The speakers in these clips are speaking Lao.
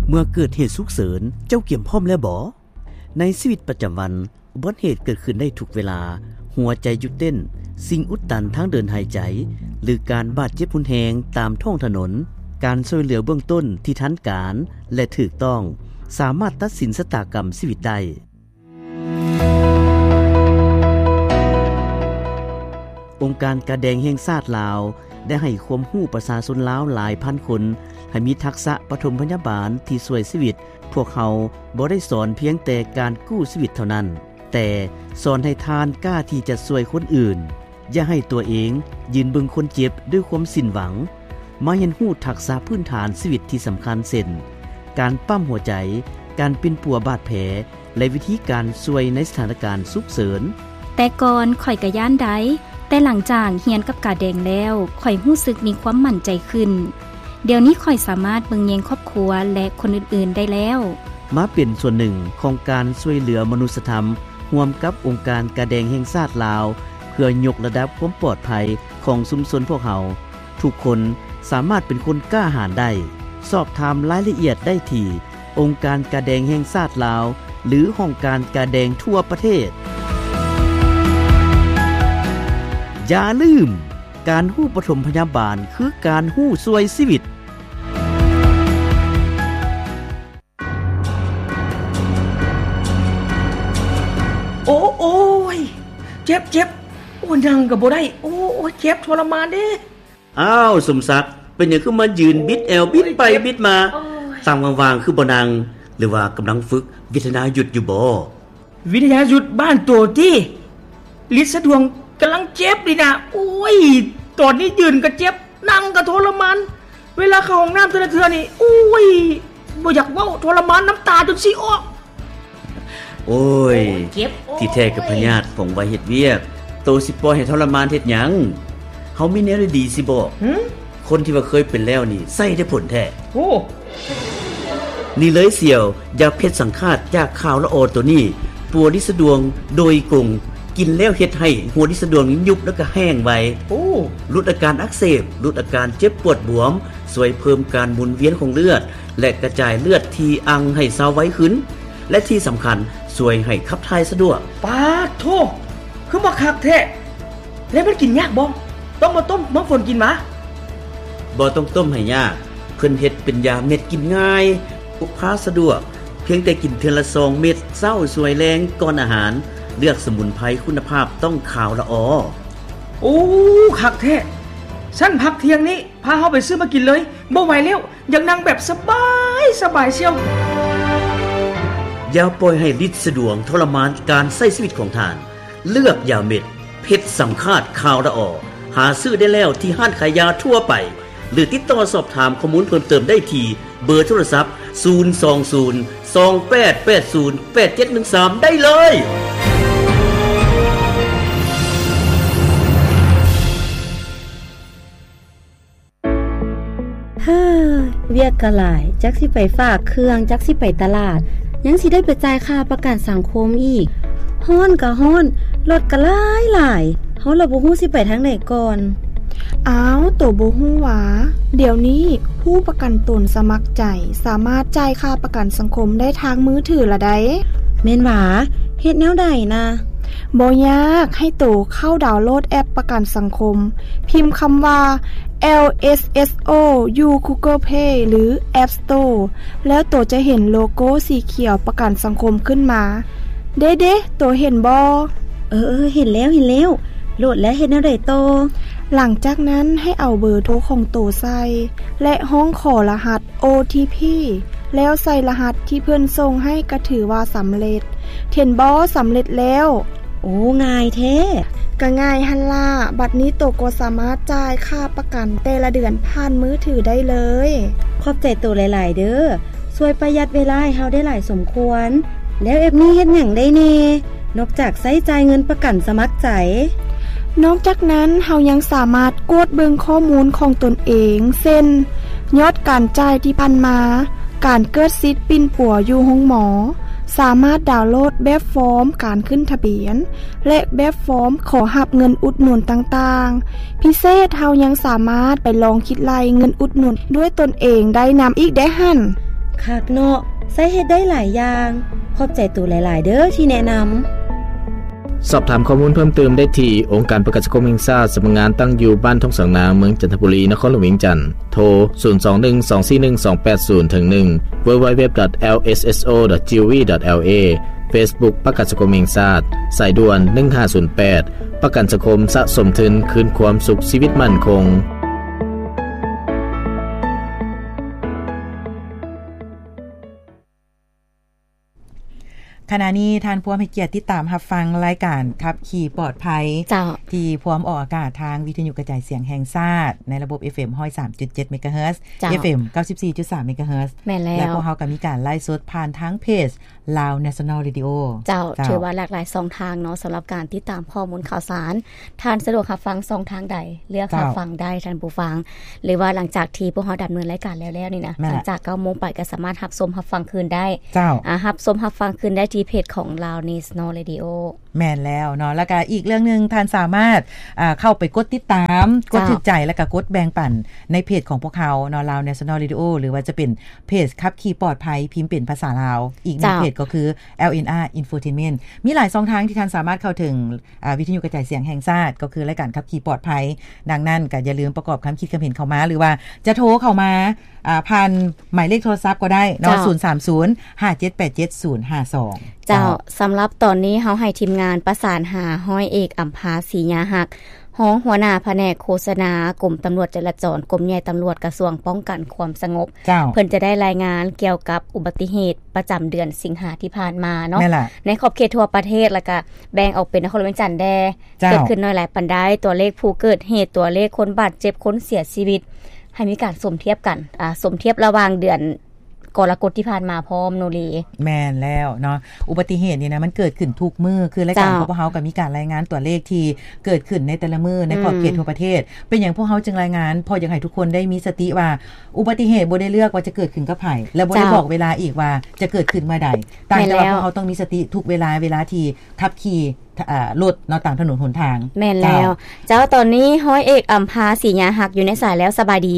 ເມື່ອເກີດເຫດສຸກເສີນ, ເຈົ້າກຽມພ້ອມແລ້ວບໍ? ໃນຊີວິດປະຈຳວັນ, ອຸບັດເຫດເກີດຂຶ້ນໄດ້ທຸກເວລາ, ຫົວໃຈຢຸດເຕັ້ນ, ສິ່ງອຸດຕັນທາງເດີນຫາຍໃຈ, ຫຼື ການບາດເຈັບຮຸນແຮງຕາມທ້ອງຖະໜົນ, ການຊ່ວຍເຫຼືອເບື້ອງຕົ້ນທີ່ທັນການ ແລະ ຖືກຕ້ອງ ສາມາດຕັດສິນຊະຕາກຳຊີວິດໄດ້. ອົງການກາແດງແຫ່ງຊາດລາວ ໄດ້ໃຫ້ຄວາມຮູ້ປະຊາຊົນລາວຫຼາຍພັນຄົນ ໃຫ້ມີທັກສະປະຖົມພະຍາບານທີ່ຊ່ວຍຊີວິດ. ພວກເຮົາບໍ່ໄດ້ສອນພຽງແຕ່ການກູ້ຊີວິດເທົ່ານັ້ນ, ແຕ່ສອນໃຫ້ທ່ານກ້າທີ່ຈະຊ່ວຍຄົນອື່ນ. ຢ່າໃຫ້ຕົວເອງຢືນເບິ່ງຄົນເຈັບດ້ວຍຄວາມສິ້ນຫວັງ. ມາຮຽນຮູ້ທັກສະພື້ນຖານຊີວິດທີ່ສຳຄັນ ເຊັ່ນ ການປ້ຳຫົວໃຈ, ການປິ່ນປົວບາດແຜ ແລະ ວິທີການຊ່ວຍໃນສະຖານະການສຸກເສີນ. ແຕ່ກ່ອນຂ້ອຍກະຢ້ານໄດ໋, ແຕ່ຫຼັງຈາກຮຽນກັບກາແດງແລ້ວ, ຂ້ອຍຮູ້ສຶກມີຄວາມໝັ້ນໃຈຂຶ້ນ. ດຽວນີ້ຂ້ອຍສາມາດເບິ່ງແຍງຄອບຄົວ ແລະ ຄົນອື່ນໆໄດ້ແລ້ວ. ມາເປັນສ່ວນໜຶ່ງຂອງການຊ່ວຍເຫຼືອມະນຸດສະທຳ ຮ່ວມກັບອົງການກາແດງແຫ່ງຊາດລາວ ເພື່ອຍົກລະດັບຄວາມປອດໄພຂອງຊຸມຊົນພວກເຮົາ. ທຸກຄົນສາມາດເປັນຄົນກ້າຫານໄດ້. ສອບຖາມລາຍລະອຽດໄດ້ທີ່ອົງການກາແດງແຫ່ງຊາດລາວ ຫຼື ຫ້ອງການກາແດງທົ່ວປະເທດ. ຢ່າລືມ, ການຮູ້ປະຖົມພະຍາບານຄືການຮູ້ຊ່ວຍຊີວິດ. ໂອ້ ໂອ້ຍ ເຈັບ ເຈັບ ໂອ້ ນັ່ງກໍບໍ່ໄດ້ ໂອ້ ໂອ້ຍ ເຈັບທໍລະມານເດ້. ອ້າວ ສົມສັກ ເປັນຫຍັງຄືມາຢືນບິດແອວ ບິດໄປບິດມາ? ໂອ້ຍ ຕາງວ່າງໆ ຄືບໍ່ນັ່ງ ຫຼືວ່າກຳລັງຝຶກວິທະຍາຍຸດຢູ່ບໍ? ວິທະຍາຍຸດບ້ານໂຕຕິ ລິດສະດວງກຳລັງເຈັບນີ້ນະ. ໂອ້ຍ ຕອນນີ້ຢືນກໍເຈັບ ນັ່ງກໍທໍລະມານ ເວລາເຂົ້າຫ້ອງນ້ຳແຕ່ລະເທື່ອນີ້ ໂອ້ຍ ບໍ່ຢາກເວົ້າ ທໍລະມານ ນ້ຳຕາຈົນຊິອອກ. ໂອ້ຍ ໂອ້ຍ ເຈັບ ໂອ້ຍ ທີ່ແທ້ກໍພະຍາດຟອງໄວເຮັດວຽກ ໂຕຊິປ່ອຍໃຫ້ທໍລະມານເຮັດຫຍັງ? ເຮົາມີແນວດີໆຊິບອກ. ຫື? ຄົນທີ່ວ່າເຄີຍເປັນແລ້ວນີ້ ໃຊ້ໄດ້ຜົນແທ້. ໂອ້ ນີ້ເລີຍສ່ຽວ ຢາເພັດສັງຄາດຈາກຂ່າວລະອໍໂຕນີ້ ປົວລິດສະດວງໂດຍກົງ ກິນແລ້ວເຮັດໃຫ້ຫົວລິດສະດວງຍຸບ ແລ້ວກໍແຫ້ງໄວ. ໂອ້ ຫຼຸດອາການອັກເສບ ຫຼຸດອາການເຈັບປວດບວມ ຊ່ວຍເພີ່ມການໝູນວຽນຂອງເລືອດ ແລະ ກະຈາຍເລືອດທີ່ອັ່ງໃຫ້ເຊົາໄວຂຶ້ນ ແລະ ທີ່ສຳຄັນ ຊ່ວຍໃຫ້ຂັບຖ່າຍສະດວກ. ປາດໂທ້ ຄືມາຄັກແທ້! ແລ້ວມັນກິນຍາກບໍ່? ຕ້ອງມາຕົ້ມມາຝົນກິນຫວາ? ບໍ່ຕ້ອງຕົ້ມໃຫ້ຍາກ, ເພິ່ນເຮັດເປັນຢາເມັດກິນງ່າຍ, ພົກພາສະດວກ, ພຽງແຕ່ກິນເທື່ອລະສອງເມັດ ເຊົ້າ ສວຍ ແລງ ກ່ອນອາຫານ. ເລືອກສະໝຸນໄພຄຸນນະພາບຕ້ອງຂາວລະອໍ. ໂອ້ ຄັກແທ້! ຊັ້ນພັກທ່ຽງນີ້ ພາເຮົາໄປຊື້ມາກິນເລີຍ, ບໍ່ໄຫວແລ້ວ, ຢາກນັ່ງແບບສະບາຍສະບາຍຊຽວ. ຢ່າປ່ອຍໃຫ້ລິດສະດວງທໍລະມານການໃຊ້ຊີວິດຂອງທ່ານ. ເລືອກຢາເມັດເພັດສັງຄາດຂາວລະອໍ. ຫາຊື້ໄດ້ແລ້ວທີ່ຮ້ານຂາຍຢາທົ່ວໄປ ຫຼື ຕິດຕໍ່ສອບຖາມຂໍ້ມູນເພີ່ມເຕີມໄດ້ທີ່ເບີໂທລະສັບ ສູນສອງສູນ ສອງແປດແປດສູນ ແປດເຈັດໜຶ່ງສາມ ໄດ້ເລີຍ. ເຮີ ວຽກກໍຫຼາຍ, ຈັກຊິໄປຝາກເຄື່ອງ, ຈັກຊິໄປຕະຫຼາດ, ຍັງຊິໄດ້ໄປຈ່າຍຄ່າປະກັນສັງຄົມອີກ. ຮ້ອນກໍຮ້ອນ, ລົດກໍຫຼາຍໆ, ເຮົາລະບໍ່ຮູ້ຊິໄປທາງໃດກ່ອນ. ອ້າວ, ໂຕບໍ່ຮູ້ຫວາ? ດຽວນີ້ຜູ້ປະກັນຕົນສະໝັກໃຈ ສາມາດຈ່າຍຄ່າປະກັນສັງຄົມໄດ້ທາງມືຖືລະໃດ໋. ແມ່ນຫວາ? ເຮັດແນວໃດນະ? ບໍ່ຍາກ, ໃຫ້ໂຕເຂົ້າດາວໂຫຼດແອັບປະກັນສັງຄົມ, ພິມຄຳວ່າ ແອລ ເອສ ເອສ ໂອ ຢູ່ Google Play ຫຼື App Store ແລ້ວໂຕຈະເຫັນໂລໂກ້ສີຂຽວປະກັນສັງຄົມຂຶ້ນມາ. ເດ້ໆ, ໂຕເຫັນບໍ່? ເອີໆ, ເຫັນແລ້ວ, ເຫັນແລ້ວ. ໂຫຼດແລ້ວເຮັດແນວໃດຕໍ່? ຫຼັງຈາກນັ້ນໃຫ້ເອົາເບີໂທຂອງໂຕໃສ່ ແລະ ຮ້ອງຂໍລະຫັດ ໂອ ທີ ພີ ແລ້ວໃສ່ລະຫັດທີ່ເພິ່ນສົ່ງໃຫ້ກໍຖືວ່າສຳເລັດ. ເຫັນບໍ່? ສຳເລັດແລ້ວ. ໂອ້ ງ່າຍແທ້. ກະງ່າຍຫັ້ນລະ. ບັດນີ້ໂຕກໍສາມາດຈ່າຍຄ່າປະກັນແຕ່ລະເດືອນຜ່ານມືຖືໄດ້ເລີຍ. ຂອບໃຈໂຕຫຼາຍໆເດີ້. ຊ່ວຍປະຢັດເວລາໃຫ້ເຮົາໄດ້ຫຼາຍສົມຄວນ. ແລ້ວແອັບນີ້ເຮັດຫຍັງໄດ້ແດ່? ນອກຈາກໃຊ້ຈ່າຍເງິນປະກັນສະໝັກໃຈ. ນອກຈາກນັ້ນ, ເຮົາຍັງສາມາດກວດເບິ່ງຂໍ້ມູນຂອງຕົນເອງ, ເຊັ່ນ ຍອດການຈ່າຍທີ່ຜ່ານມາ, ການເກີດສິດປິ່ນປົວຢູ່ໂຮງໝໍ, ສາມາດດາວໂຫຼດແບບຟອມການຂຶ້ນທະບຽນ ແລະ ແບບຟອມຂໍຮັບເງິນອຸດໜູນຕ່າງໆ. ພິເສດ, ເຮົາຍັງສາມາດໄປລອງຄິດໄລ່ເງິນອຸດໜູນດ້ວຍຕົນເອງໄດ້ນຳອີກເດ້ຫັ້ນ. ຄັກເນາະ, ໃຊ້ເຮັດໄດ້ຫຼາຍຢ່າງ. ຂອບໃຈໂຕຫຼາຍໆເດີ້ທີ່ແນະນຳ. ສອບຖາມຂໍ້ມູນເພີ່ມເຕີມໄດ້ທີ່ ອົງການປະກັນສັງຄົມແຫ່ງຊາດ, ສຳນັກງານຕັ້ງຢູ່ບ້ານທົ່ງສາງນາງ, ເມືອງຈັນທະບູລີ, ນະຄອນຫຼວງວຽງຈັນ. ໂທ ສູນສອງໜຶ່ງ ສອງສີ່ໜຶ່ງ ສອງແປດສູນ ເຖິງໜຶ່ງ, ເວີເວັບ ເອັມ ເອັສ ເອັສ ໂອ ດອດ ຈີໂອວີ ດອດ ແອລ ເອ ເຟສບຸກ ປະກັນສັງຄົມແຫ່ງຊາດ, ສາຍດ່ວນ ໜຶ່ງຫ້າສູນແປດ, ປະກັນສັງຄົມສະສົມທຶນຄືນຄວາມສຸກຊີວິດໝັ້ນຄົງ. ຂະນະນີ້ທ່ານພວມໃຫ້ກຽດຕິດຕາມຮັບຟັງລາຍການຂັບຂີ່ປອດໄພ ເຈົ້າ ທີ່ພວມອອກອາກາດທາງວິທະຍຸກະຈາຍສຽງແຫ່ງຊາດ ໃນລະບົບ ເອຟເອັມ ຮ້ອຍສາມຈຸດເຈັດ ເມກາເຮີດ, ເຈົ້າ ເອຟເອັມ ເກົ້າສິບສີ່ຈຸດສາມ ເມກາເຮີດ ແມ່ນແລ້ວ ແລະ ພວກເຮົາກໍມີການໄລຟ໌ສົດຜ່ານທາງເພຈ Lao National Radio ເຈົ້າ ເຈົ້າ ຖືວ່າຫຼາກຫຼາຍຊ່ອງທາງເນາະ ສຳລັບການຕິດຕາມຂໍ້ມູນຂ່າວສານ. ທ່ານສະດວກຮັບຟັງຊ່ອງທາງໃດ ເລືອກ ເຈົ້າ ຮັບຟັງໄດ້ທ່ານຜູ້ຟັງ ຫຼືວ່າຫຼັງຈາກທີ່ພວກເຮົາດຳເນີນລາຍການແລ້ວໆນີ້ນະ ແມ່ນແຫຼະ ຫຼັງຈາກເກົ້າໂມງໄປກໍສາມາດຮັບຊົມຮັບຟັງຄືນໄດ້ ເຈົ້າ ອາ ຮັບຊົມຮັບຟັງຄືນໄດ້ທີ່ເພຈຂອງ Lao National Radio. ແມ່ນແລ້ວເນາະ ແລ້ວກໍອີກເລື່ອງໜຶ່ງ ທ່ານສາມາດ ອາ ເຂົ້າໄປກົດຕິດຕາມ ເຈົ້າ ກົດຖືກໃຈ ແລ້ວກໍກົດແບ່ງປັນໃນເພຈຂອງພວກເຮົາເນາະ Lao National Radio ຫຼືວ່າຈະເປັນເພຈຂັບຂີ່ປອດໄພ ພິມເປັນພາສາລາວ ອີກໜຶ່ງ ເຈົ້າ ເພຈກໍຄື ແອລເອັນອາ Infotainment. ມີຫຼາຍຊ່ອງທາງທີ່ທ່ານສາມາດເຂົ້າເຖິງ ອາ ວິທະຍຸກະຈາຍສຽງແຫ່ງຊາດ ກໍຄືລາຍການຂັບຂີ່ປອດໄພ. ດັ່ງນັ້ນກໍຢ່າລືມປະກອບຄຳຄິດຄຳເຫັນເຂົ້າມາ ຫຼືວ່າຈະໂທເຂົ້າມາ ອາ ຜ່ານໝາຍເລກໂທລະສັບກໍໄດ້ເນາະ ເຈົ້າ ສູນສາມສູນ ຫ້າເຈັດແປດເຈັດ ສູນຫ້າສອງ. ເຈົ້າ ເຈົ້າ ສຳລັບຕອນນີ້ເຮົາໃຫ້ທີມງານປະສານຫາຮ້ອຍເອກ ອຳພາ ສີຍາຮັກ ຮອງຫົວໜ້າພະແນກໂຄສະນາ ກົມຕຳຫຼວດຈະລາຈອນ ກົມໃຫຍ່ຕຳຫຼວດ ກະຊວງປ້ອງກັນຄວາມສະຫງົບ. ເຈົ້າ ເພິ່ນຈະໄດ້ລາຍງານກ່ຽວກັບອຸບັດຕິເຫດປະຈຳເດືອນສິງຫາທີ່ຜ່ານມາເນາະ ແມ່ນລະ ໃນຂອບເຂດທົ່ວປະເທດ ແລ້ວກະແບ່ງອອກເປັນນະຄອນຫຼວງວຽງຈັນແດ່ ເຈົ້າ ເກີດຂຶ້ນໜ້ອຍຫຼາຍປານໃດ, ຕົວເລກຜູ້ເກີດເຫດ, ຕົວເລກຄົນບາດເຈັບ, ຄົນເສຍຊີວິດ ໃຫ້ມີການສົມທຽບກັນ ອາ ສົມທຽບລະຫວ່າງເດືອນກໍລະກົດທີ່ຜ່ານມາພ້ອມໂນເລ. ແມ່ນແລ້ວເນາະ ອຸບັດຕິເຫດນີ້ນະ ມັນເກີດຂຶ້ນທຸກມື້ ຄືລາຍການ ເຈົ້າ ຂອງພວກເຮົາກໍມີການລາຍງານຕົວເລກທີ່ເກີດຂຶ້ນໃນແຕ່ລະມື້ໃນຂອບເຂດ ອືມ ທົ່ວປະເທດ. ເປັນຫຍັງພວກເຮົາຈຶ່ງລາຍງານ? ເພາະຢາກໃຫ້ທຸກຄົນໄດ້ມີສະຕິວ່າ ອຸບັດຕິເຫດບໍ່ໄດ້ເລືອກວ່າຈະເກີດຂຶ້ນກັບໃຜ ແລະ ບໍ່ໄດ້ ເຈົ້າ ບອກເວລາອີກວ່າຈະເກີດຂຶ້ນເມື່ອໃດ. ຕ່າງແຕ່ວ່າ ແມ່ນແລ້ວ ພວກເຮົາຕ້ອງມີສະຕິທຸກເວລາ ເວລາທີ່ຂັບຂີ່ ອາ ລົດເນາະ ຕາມຖະໜົນຫົນທາງ. ແມ່ນແລ້ວ ເຈົ້າ ເຈົ້າ ຕອນນີ້ຮ້ອຍເອກ ອຳພາ ສີຍາຮັກ ຢູ່ໃນສາຍແລ້ວ ສະບາຍດີ.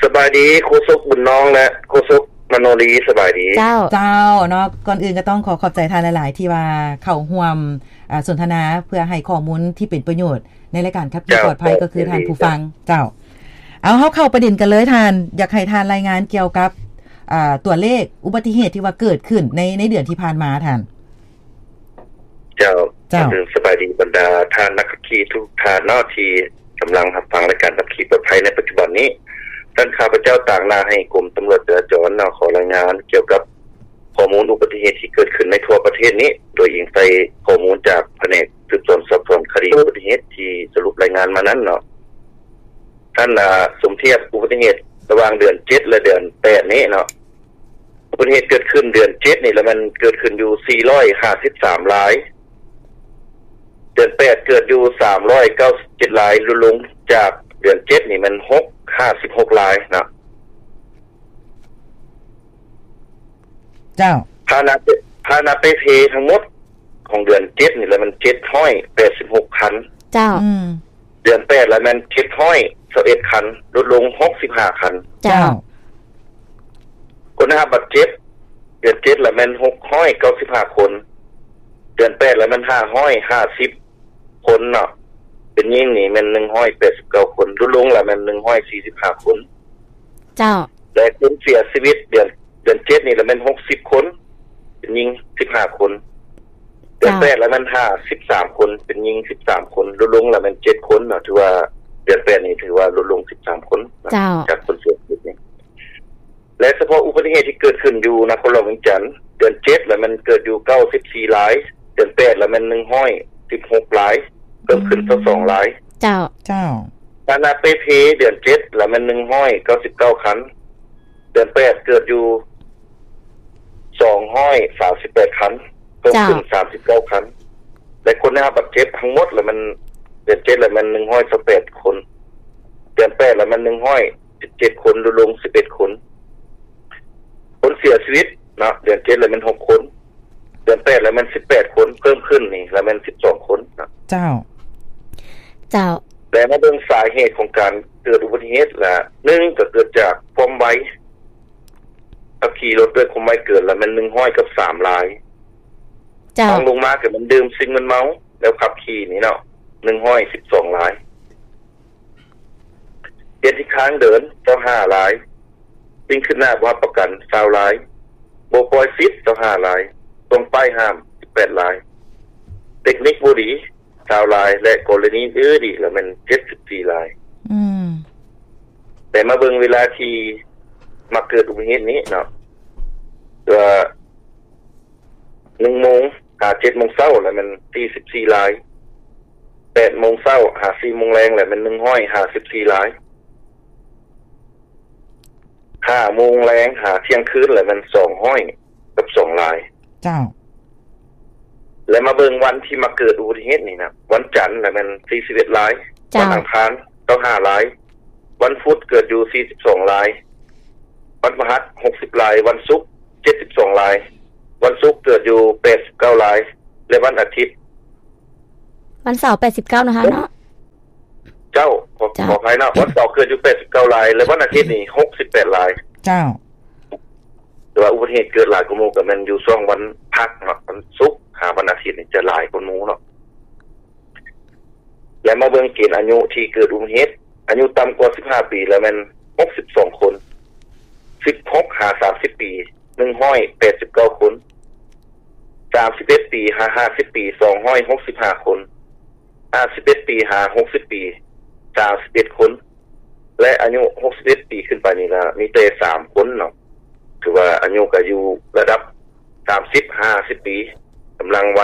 ສະບາຍດີ ໂຄສົກບຸນນອງ ແລະ ໂຄສົກມະໂນລີ ສະບາຍດີ. ເຈົ້າ ເຈົ້າ ເນາະ ກ່ອນອື່ນກໍຕ້ອງຂໍຂອບໃຈທ່ານຫຼາຍໆ ທີ່ວ່າເຂົ້າຮ່ວມ ອາ ສົນທະນາ ເພື່ອໃຫ້ຂໍ້ມູນທີ່ເປັນປະໂຫຍດໃນລາຍການຂັບຂີ່ ເຈົ້າ ປອດໄພ ກໍຄືທ່ານຜູ້ຟັງ. ເຈົ້າ ເອົາ ເຮົາເຂົ້າປະເດັນກັນເລີຍທ່ານ ຢາກໃຫ້ທ່ານລາຍງານກ່ຽວກັບ ອາ ຕົວເລກອຸບັດຕິເຫດທີ່ວ່າເກີດຂຶ້ນໃນ ໃນເດືອນທີ່ຜ່ານມາທ່ານ. ເຈົ້າ ເຈົ້າ ສະບາຍດີບັນດາທ່ານນັກຂັບຂີ່ທຸກທ່ານເນາະ ທີ່ກຳລັງຮັບຟັງລາຍການຂັບຂີ່ປອດໄພໃນປັດຈຸບັນນີ້. ທ່ານ ຂ້າພະເຈົ້າຕາງໜ້າໃຫ້ກົມຕຳຫຼວດຈະລາຈອນເນາະ ຂໍລາຍງານກ່ຽວກັບຂໍ້ມູນອຸບັດຕິເຫດທີ່ເກີດຂຶ້ນໃນທົ່ວປະເທດນີ້ ໂດຍອີງໃສ່ຂໍ້ມູນຈາກພະແນກສືບສວນສອບສວນຄະດີອຸບັດຕິເຫດທີ່ສະຫຼຸບລາຍງານມານັ້ນເນາະ. ທ່ານ ອາ ສົມທຽບອຸບັດຕິເຫດລະຫວ່າງເດືອນເຈັດ ແລະ ເດືອນແປດນີ້ເນາະ ອຸບັດຕິເຫດເກີດຂຶ້ນເດືອນເຈັດນີ້ລະແມ່ນເກີດຂຶ້ນຢູ່ສີ່ຮ້ອຍຫ້າສິບສາມລາຍ, ເດືອນແປດເກີດຢູ່ສາມຮ້ອຍເກົ້າສິບເຈັດລາຍ ຫຼຸດລົງຈາກເດືອນເຈັດນີ້ແມ່ນຫົກ ຫ້າສິບຫົກລາຍເນາະ. ເຈົ້າ ພາຫະນະ ພາຫະນະເປ່ເພທັງໝົດຂອງເດືອນເຈັດນີ້ລະແມ່ນເຈັດຮ້ອຍແປດສິບຫົກຄັນ. ເຈົ້າ ອືມ ເດືອນແປດລະແມ່ນເຈັດຮ້ອຍຊາວເອັດຄັນ ຫຼຸດລົງຫົກສິບຫ້າຄັນ. ເຈົ້າ ເຈົ້າ ຄົນໄດ້ຮັບບາດເຈັບ ເດືອນເຈັດລະແມ່ນຫົກຮ້ອຍເກົ້າສິບຫ້າຄົນ, ເດືອນແປດລະແມ່ນຫ້າຮ້ອຍຫ້າສິບຄົນເນາະ, ເປັນຍິງນີ້ແມ່ນໜຶ່ງຮ້ອຍແປດສິບເກົ້າຄົນ ຫຼຸດລົງລະແມ່ນໜຶ່ງຮ້ອຍສີ່ສິບຫ້າຄົນ. ເຈົ້າ ແລະ ຄົນເສຍຊີວິດເດືອນ ເດືອນເຈັດນີ້ລະແມ່ນຫົກສິບຄົນ ເປັນຍິງສິບຫ້າຄົນ, ເດືອນແປດລະແມ່ນຫ້າສິບສາມຄົນ ເປັນຍິງສິບສາມຄົນ ຫຼຸດລົງລະແມ່ນເຈັດຄົນເນາະ, ຖືວ່າເດືອນແປດນີ້ຖືວ່າຫຼຸດລົງສິບສາມຄົນເນາະ ເຈົ້າ ຈາກຄົນເສຍຊີວິດນີ້. ແລະ ສະເພາະອຸບັດຕິເຫດທີ່ເກີດຂຶ້ນຢູ່ນະຄອນຫຼວງວຽງຈັນ ເດືອນເຈັດລະແມ່ນເກີດຢູ່ເກົ້າສິບສີ່ລາຍ, ເດືອນແປດລະແມ່ນໜຶ່ງຮ້ອຍສິບຫົກລາຍ ເພີ່ມຂຶ້ນຊາວສອງລາຍ. ເຈົ້າ ເຈົ້າ ພາຫະນະເປ່ເພເດືອນເຈັດລະແມ່ນໜຶ່ງຮ້ອຍເກົ້າສິບເກົ້າຄັນ, ເດືອນແປດເກີດຢູ່ສອງຮ້ອຍສາມສິບແປດຄັນ ເພີ່ມຂຶ້ນສາມສິບເກົ້າຄັນ, ແລະ ຄົນໄດ້ຮັບບາດເຈັບທັງໝົດລະແມ່ນ ເດືອນເຈັດລະແມ່ນໜຶ່ງຮ້ອຍຊາວແປດຄົນ, ເດືອນແປດລະແມ່ນໜຶ່ງຮ້ອຍສິບເຈັດຄົນ ຫຼຸດລົງສິບເອັດຄົນ. ຄົນເສຍຊີວິດເນາະ ເດືອນເຈັດລະແມ່ນຫົກຄົນ, ເດືອນແປດລະແມ່ນສິບແປດຄົນ ເພີ່ມຂຶ້ນນີ້ລະແມ່ນສິບສອງຄົນເນາະ. ເຈົ້າ ເຈົ້າ ແລະ ມາເບິ່ງສາເຫດຂອງການເກີດອຸບັດຕິເຫດລະ ໜຶ່ງ ກໍເກີດຈາກຄວາມໄວ ຂັບຂີ່ລົດດ້ວຍຄວາມໄວເກີນລະແມ່ນໜຶ່ງຮ້ອຍກັບສາມລາຍ. ເຈົ້າ. ຮອງລົງມາກໍແມ່ນດື່ມສິ່ງມຶນເມົາແລ້ວຂັບຂີ່ນີ້ເນາະ ໜຶ່ງຮ້ອຍສິບສອງລາຍ. ເຮັດທີ່ຄ້າງເດີນ ຊາວຫ້າລາຍ. ສິ່ງຄືບໜ້າບໍ່ຮັບປະກັນ ຊາວລາຍ. ບໍ່ປ່ອຍສິດ ຊາວຫ້າລາຍ. ສົ່ງປ້າຍຫ້າມ ສິບແປດລາຍ. ເຕັກນິກບໍ່ດີ ຊາວລາຍ ແລະ ກໍລະນີອື່ນອີກລະແມ່ນ ເຈັດສິບສີ່ລາຍ. ອືມ. ແຕ່ມາເບິ່ງເວລາທີ່ມັກເກີດອຸບັດຕິເຫດນີ້ເນາະ ວ່າ ໜຶ່ງໂມງຫາເຈັດໂມງເຊົ້າລະແມ່ນ ສີ່ສິບສີ່ລາຍ. ແປດໂມງເຊົ້າຫາສີ່ໂມງແລງລະແມ່ນ ໜຶ່ງຮ້ອຍຫ້າສິບສີ່ລາຍ. ຫ້າໂມງແລງຫາທ່ຽງຄືນລະແມ່ນ ສອງຮ້ອຍກັບສອງລາຍ. ເຈົ້າ. ແລະ ມາເບິ່ງວັນທີ່ມັກເກີດອຸບັດຕິເຫດນີ້ນະ ວັນຈັນລະແມ່ນ ສີ່ສິບເອັດລາຍ. ເຈົ້າ. ວັນອັງຄານ ຊາວຫ້າລາຍ. ວັນພຸດເກີດຢູ່ ສີ່ສິບສອງລາຍ. ວັນພະຫັດ ຫົກສິບລາຍ. ວັນສຸກ ເຈັດສິບສອງລາຍ. ວັນສຸກເກີດຢູ່ ແປດສິບເກົ້າລາຍ ແລະ ວັນອາທິດ ວັນເສົາ ແປດສິບເກົ້ານະຄະເນາະ. ເຈົ້າ. ຂໍ ເຈົ້າ. ຂໍອະໄພເນາະ ວັນເສົາເກີດຢູ່ ແປດສິບເກົ້າລາຍ ແລະ ວັນອາທິດນີ້ ຫົກສິບແປດລາຍ. ເຈົ້າ. ແຕ່ວ່າອຸບັດຕິເຫດເກີດຫຼາຍກວ່າໝູ່ກໍແມ່ນຢູ່ຊ່ວງວັນພັກເນາະ ວັນສຸກຫາວັນອາທິດນີ້ຈະຫຼາຍກວ່າໝູ່ເນາະ. ແລະ ມາເບິ່ງເກນອາຍຸທີ່ເກີດອຸບັດຕິເຫດ ອາຍຸຕ່ຳກວ່າສິບຫ້າປີລະແມ່ນ ຫົກສິບສອງຄົນ. ສິບຫົກຫາສາມສິບປີ ໜຶ່ງຮ້ອຍແປດສິບເກົ້າຄົນ. ສາມສິບເອັດປີຫາຫ້າສິບປີ ສອງຮ້ອຍຫົກສິບຫ້າຄົນ. ຫ້າສິບເອັດປີຫາຫົກສິບປີ ສາມສິບເອັດຄົນ ແລະ ອາຍຸຫົກສິບເອັດປີຂຶ້ນໄປນີ້ລະມີແຕ່ສາມຄົນເນາະ. ຖືວ່າອາຍຸກໍຢູ່ລະດັບ ສາມສິບຫາຫ້າສິບປີ ກຳລັງໄວ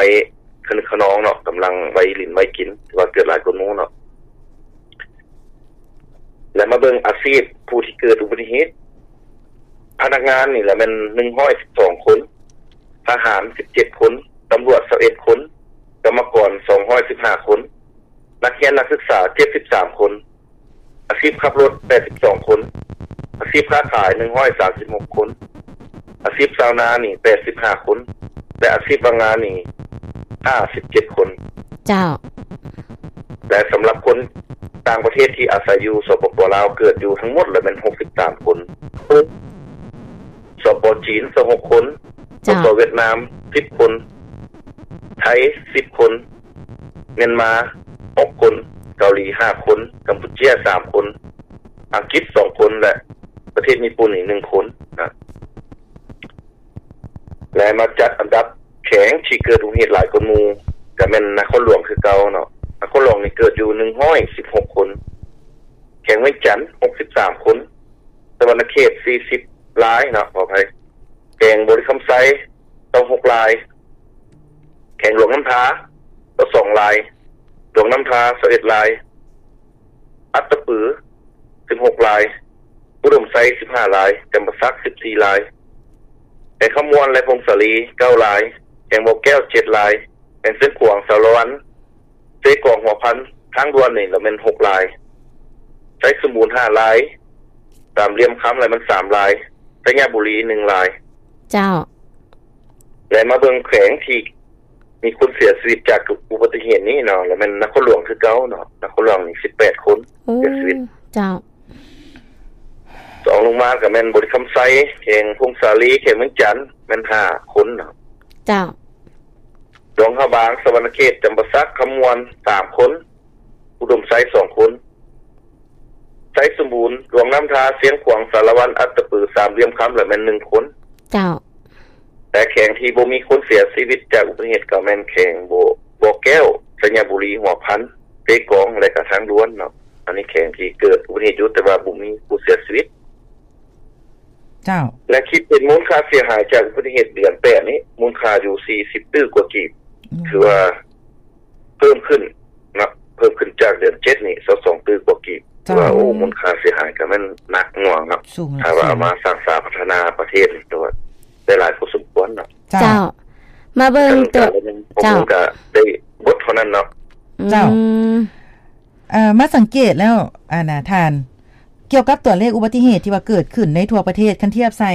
ຄະນຶກຂະນອງເນາະ ກຳລັງໄວຫຼິ້ນໄວກິນ ຖືວ່າເກີດຫຼາຍກວ່າໝູ່ເນາະ. ແລະ ມາເບິ່ງອາຊີບຜູ້ທີ່ເກີດອຸບັດຕິເຫດ ພະນັກງານນີ້ລະແມ່ນ ໜຶ່ງຮ້ອຍສິບສອງຄົນ, ທະຫານ ສິບເຈັດຄົນ, ຕຳຫຼວດ ຊາວເອັດຄົນ, ກຳມະກອນ ສອງຮ້ອຍສິບຫ້າຄົນ, ນັກຮຽນນັກສຶກສາ ເຈັດສິບສາມຄົນ, ອາຊີບຂັບລົດ ແປດສິບສອງຄົນ, ອາຊີບຄ້າຂາຍ ໜຶ່ງຮ້ອຍສາມສິບຫົກຄົນ, ອາຊີບຊາວນານີ້ ແປດສິບຫ້າຄົນ ແລະ ອາຊີບວ່າງງານນີ້ ຫ້າສິບເຈັດຄົນ. ເຈົ້າ. ແລະ ສຳລັບຄົນຕ່າງປະເທດທີ່ອາໄສຢູ່ ສປປ ລາວ ເກີດຢູ່ທັງໝົດລະແມ່ນ ຫົກສິບສາມຄົນ. ສປ ຈີນ ຊາວຫົກຄົນ, ເຈົ້າ. ສປ ຫວຽດນາມ ສິບຄົນ, ໄທ ສິບຄົນ, ມຽນມາ ຫົກຄົນ, ເກົາຫຼີ ຫ້າຄົນ, ກຳປູເຈຍ ສາມຄົນ, ອັງກິດ ສອງຄົນ ແລະ ປະເທດຍີ່ປຸ່ນນີ້ ໜຶ່ງຄົນນະ. ແລະ ມາຈັດອັນດັບແຂວງທີ່ເກີດອຸບັດຕິເຫດຫຼາຍກວ່າໝູ່ ກະແມ່ນນະຄອນຫຼວງຄືເກົ່າເນາະ. ນະຄອນຫຼວງນີ້ເກີດຢູ່ ໜຶ່ງຮ້ອຍສິບຫົກຄົນ, ແຂວງວຽງຈັນ ຫົກສິບສາມຄົນ, ສະຫວັນນະເຂດ ສີ່ສິບລາຍເນາະ ຂໍອະໄພ, ແຂວງບໍລິຄຳໄຊ ຊາວຫົກລາຍ, ແຂວງຫຼວງນ້ຳທາ ຊາວສອງລາຍ, ຫຼວງນ້ຳທາ ຊາວເອັດລາຍ, ອັດຕະປື ສິບຫົກລາຍ, ອຸດົມໄຊ ສິບຫ້າລາຍ, ຈຳປາສັກ ສິບສີ່ລາຍ, ແຂວງຄຳມ່ວນ ແລະ ຜົ້ງສາລີ ເກົ້າລາຍ, ແຂວງບໍ່ແກ້ວ ເຈັດລາຍ, ແຂວງຊຽງຂວາງ ຊາວລະວັນ, ເຊກອງ ຫົວພັນ, ທາງດ່ວນນີ້ລະແມ່ນ ຫົກລາຍ, ໄຊສົມບູນ ຫ້າລາຍ, ສາມຫຼ່ຽມຄຳລະແມ່ນ ສາມລາຍ, ໄຊຍະບູລີ ໜຶ່ງລາຍ. ເຈົ້າ. ແລະ ມາເບິ່ງແຂວງທີ່ ມີຄົນເສຍຊີວິດຈາກອຸບັດຕິເຫດນີ້ເນາະ ລະແມ່ນນະຄອນຫຼວງຄືເກົ່າເນາະ, ນະຄອນຫຼວງນີ້ ສິບແປດຄົນ ໂອ້ ເສຍຊີວິດ. ເຈົ້າ. ສອງລົງມາກະແມ່ນບໍລິຄຳໄຊ, ແຂວງຜົ້ງສາລີ, ແຂວງວຽງຈັນ ແມ່ນຫ້າຄົນເນາະ. ເຈົ້າ. ຫຼວງພະບາງ, ສະຫວັນນະເຂດ, ຈຳປາສັກ, ຄຳມ່ວນ ສາມຄົນ, ອຸດົມໄຊ ສອງຄົນ, ໄຊສົມບູນ, ຫຼວງນ້ຳທາ, ຊຽງຂວາງ, ສາລະວັນ, ອັດຕະປື, ສາມຫຼ່ຽມຄຳ ລະແມ່ນ ໜຶ່ງຄົນ. ເຈົ້າ. ແຕ່ແຂວງທີ່ບໍ່ມີຄົນເສຍຊີວິດຈາກອຸບັດຕິເຫດ ກໍແມ່ນແຂວງບໍ່ ບໍ່ແກ້ວ, ໄຊຍະບູລີ, ຫົວພັນ, ເຊກອງ ແລະ ກະທາງດ່ວນເນາະ. ອັນນີ້ແຂວງທີ່ເກີດອຸບັດຕິເຫດຢູ່ ແຕ່ວ່າບໍ່ມີຜູ້ເສຍຊີວິດ. ເຈົ້າ. ແລະ ຄິດເປັນມູນຄ່າເສຍຫາຍຈາກອຸບັດຕິເຫດເດືອນແປດນີ້ ມູນຄ່າຢູ່ ສີ່ສິບຕື້ກວ່າກີບ. ອືມ. ຖືວ່າເພີ່ມຂຶ້ນເນາະ, ເພີ່ມຂຶ້ນຈາກເດືອນເຈັດນີ້ ຊາວສອງຕື້ກວ່າກີບ. ເຈົ້າ. ຖືວ່າ ໂອ້ ອືມ ມູນຄ່າເສຍຫາຍກໍແມ່ນໜັກໜ່ວງເນາະ. ສູງ ຖ້າວ່າເອົາມາສ້າງສາພັດທະນາປະເທດນີ້ ຖືວ່າໄດ້ຫຼາຍພໍສົມຄວນເນາະ. ເຈົ້າ. ເຈົ້າ. ມາເບິ່ງຕົວ ເຈົ້າ ກໍໄດ້ບົດເທົ່ານັ້ນເນາະ. ເຈົ້າ. ອືມ. ເອີ ມາສັງເກດແລ້ວ ອັນນ່າ ທ່ານ ກ່ຽວກັບຕົວເລກອຸບັດຕິເຫດທີ່ວ່າເກີດຂຶ້ນໃນທົ່ວປະເທດ ຄັນທຽບໃສ່